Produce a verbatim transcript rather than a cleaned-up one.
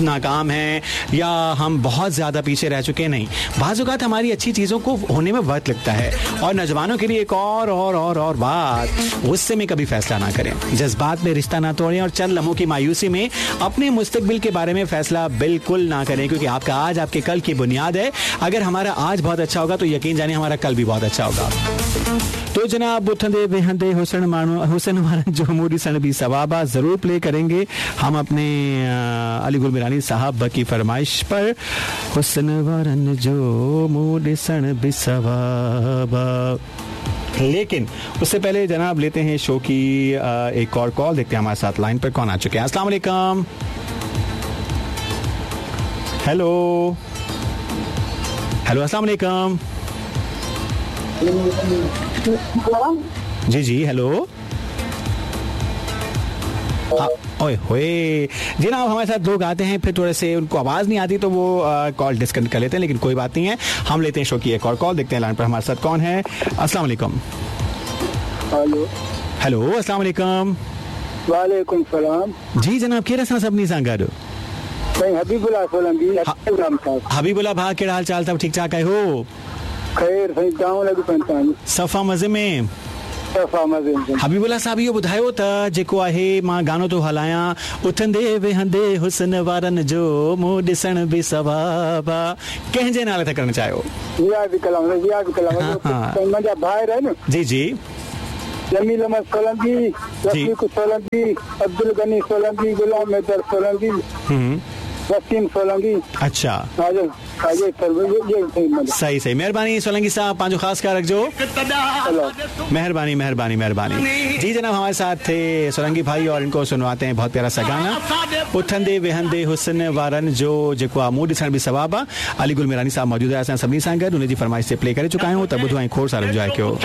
नाकाम हैं या हम बहुत ज़्यादा पीछे रह चुके हैं, नहीं। बाज़ औक़ात हमारी अच्छी चीज़ों को होने में वक्त लगता है। और नौजवानों के लिए एक और और और और बात, गुस्से में कभी फैसला ना करें, जज्बात में रिश्ता ना तोड़ें और चंद लम्हों की मायूसी में अपने मुस्तकबिल के बारे में फैसला बिल्कुल ना करें, क्योंकि आपका आज आपके कल की बुनियाद है। अगर हमारा आज बहुत अच्छा होगा तो यकीन जानिए हमारा कल भी बहुत अच्छा होगा। तो जनाब उथंदे वेहंदे हुसन माण्हू हुसन वारनि जो मुंहुं ॾिसण बि सवाब आहे, ज़रूर प्ले करेंगे हम अपने अली गुल मिरानी साहब की फरमाइश पर। हुसन वारनि जो मुंहुं ॾिसण बि सवाब आहे। लेकिन उससे पहले जनाब लेते हैं शो की एक और कॉल, देखते हैं हमारे साथ लाइन पर कौन आ चुके हैं। अस्सलाम वालेकुम। हेलो हेलो, अस्सलाम वालेकुम। जी जी हेलो। ओए होए जनाब, हमारे साथ लोग आते हैं फिर थोड़े से उनको आवाज़ नहीं आती तो वो कॉल डिस्कनेक्ट कर लेते हैं, लेकिन कोई बात नहीं है, हम लेते हैं शो की एक और कॉल, देखते हैं लाइन पर हमारे साथ कौन है। अस्सलाम वालेकुम। हेलो हेलो, अस्सलाम वालेकुम। वालेकुम सलाम। जी जनाब, केरु असां सभिनी सां गॾु? हबीबुल्ला सोलंकी। हबीबुल्ला भाउ, कहिड़ा हाल चाल अथव? ठीक ठाक आहियो? खैर साईं, तव्हां लॻी पवनि। सफ़ा मज़े में? सफ़ा मज़े में। हबीबुल्ला साहब, इहो ॿुधायो त जेको आहे मां गानो थो हलायां, उथंदे वेहंदे हुसन वारनि जो मुंहुं ॾिसण बि सवाब आहे, कंहिंजे नाले था करणु चाहियो? इहा बि कलाम, इहा बि कलाम मुंहिंजा भाइर आहिनि। जी जी। जमील अहमद सोलंकी, रफ़ीक सोलंकी, अब्दुल गनी सोलंकी, गुलाम हैदर सोलंकी, वसीम सोलंकी। अच्छा, सही सही, मेहरबानी सोलंकी साहब, पंहिंजो ख़ासि ख़्यालु रखिजो। मेहरबानी मेहरबानी मेहरबानी। जी जनाब, हमारे साथ थे सोलंकी भाई और इनको सुनवाते हैं बहुत प्यारा सा गाना, उथंदे वेहंदे हुसन वारनि जो जेको आहे मुंहुं ॾिसण बि सवाब आहे। अली गुल मिरानी साहब मौजूदु आहे असां सभिनी सां गॾु, हुनजी फरमाइश ते प्ले करे चुका आहियूं, त ॿुधो ऐं खोड़ सारो इंजॉय कयो।